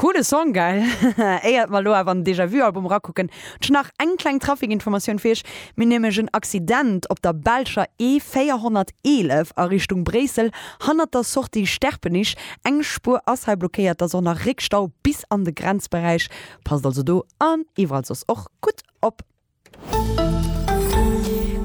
Coole Song, gell? Éiert mer elo awer an den Déjà-Vu-Album erakucken, hunn ech nach eng kleng Trafikinformatioun fir iech. Mir hunn nämlech en Accident op der belscher E 411 a Richtung Bréissel, hannert der Sortie Sterpenich. Eng Spuer ass hei blockéiert, et ass och nach Réckstau bis an de Grenzberäich. Passt also do an iwwerall soss och gutt op.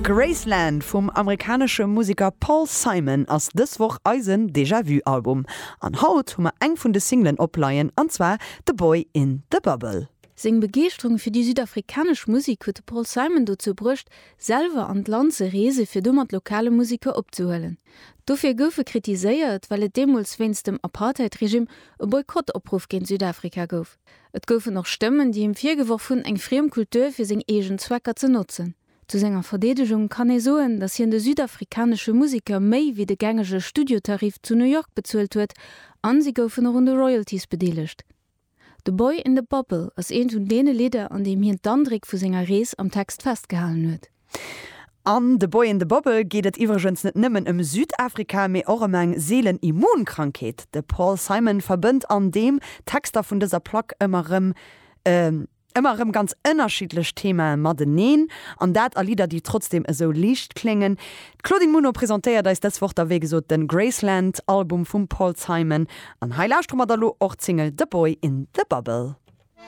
Graceland vum amerikanesche Museker Paul Simon ass dës Woch eisen Déjà Vu Album. An haut hu mer eng vun de Singlen opleien, an zwar The Boy in the Bubble. Seng Begeeschterung fir déi südafrikanesch Musek huet de Paul Simon dozou bruecht, selwer an d'Land ze reese fir do mat lokale Museker opzehuelen. Dofir gouf e kritiséiert, well et deemools wéinst dem Apartheid-Regime e Boykottopruff géint Südafrika gouf. Et goufen och Stëmmen, déi him virgeworf hunn, eng friem Kultur fir seng eegen Zwecker ze notzen. Zu senger Verdeedegung kann ee soen, datt hien de südafrikanesche Museker méi wéi de gängege Studiotarif zu New York bezuelt huet, an si goufen och un de Royalties bedeelegt. The Boy in the Bubble ass eent vun deene Lidder, an deem hien d'Andréck vu senger Rees am Text festgehalen huet. An The Boy in the Bubble geet et iwwregens net nëmmen ëm Südafrika, mee och ëm eng seelen Immunkrankheet. De Paul Simon verbënnt an deem Texter vun dëser Plack ëmmer erëm ëmmer erëm ganz ënnerschiddlech Themae mateneen, an dat a Lidder, déi trotzdeem esou liicht kléngen. D'Claudine Muno presentéiert eis dës Woch da wéi gesot de Graceland Album vum Paul Simon, an hei lauschtere mer da lo och d'Single The Boy in the Bubble.